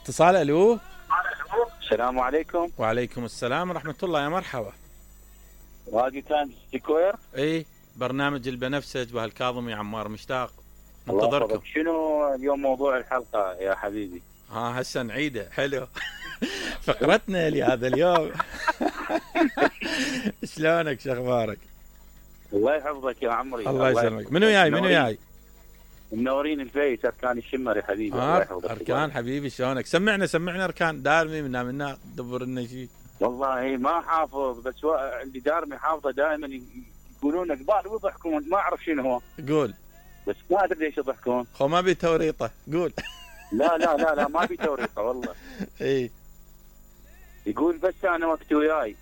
اتصال. الو. السلام عليكم. وعليكم السلام ورحمة الله. يا مرحبا. راقي كان سكوير. اي برنامج البنفسج وهالكاظمي عمار مشتاق. الله منتظركم. يحفظك. شنو اليوم موضوع الحلقة يا حبيبي؟ هسه نعيده. حلو. فقرتنا لهذا اليوم. شلونك؟ شخبارك؟ الله يحفظك يا عمري. الله يسلمك. منو جاي؟ منورين الفيس اركان الشمر يا حبيبي. الله يحفظك. اركان حبيبي شلونك؟ سمعنا اركان دارمي منا دبر لنا شيء. والله ما حافظ، بس اللي دارمي حافظه دائما يقولون قبال ويضحكون، ما اعرف شنو هو. قول. بس ما ادري ليش يضحكون. خو ما بي توريطه. قول. لا ما بي توريطه والله. اي يقول بس انا وقت وياي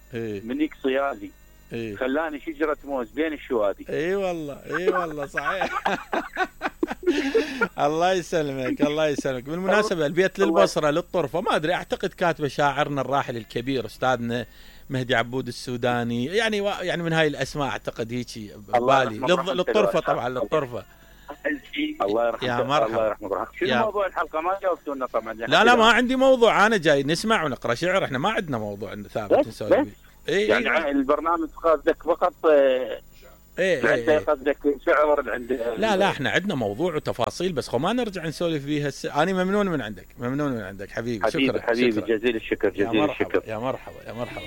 منيك صيادي خلاني شجرة موز بين الشوادي. اي والله صحيح. الله يسلمك. بالمناسبة البيت للبصرة للطرفة، ما ادري، اعتقد كاتبه شاعرنا الراحل الكبير استاذنا مهدي عبود السوداني، يعني من هاي الاسماء اعتقد هيجي بالي. للطرفة طبعا للطرفة. الله يرحمه. يا مرحبا. الله يرحمه. شنو موضوع الحلقة؟ ما جاوبتونا طبعا. لا ما عندي موضوع، انا جاي نسمع ونقرا شعر، احنا ما عندنا موضوع ثابت نسولف. يعني البرنامج قصدك فقط قصدك شعر عند لا احنا عندنا موضوع وتفاصيل، بس ما نرجع نسولف بيها انا ممنون من عندك حبيبي. شكرا حبيبي. جزيل الشكر. يا مرحبا.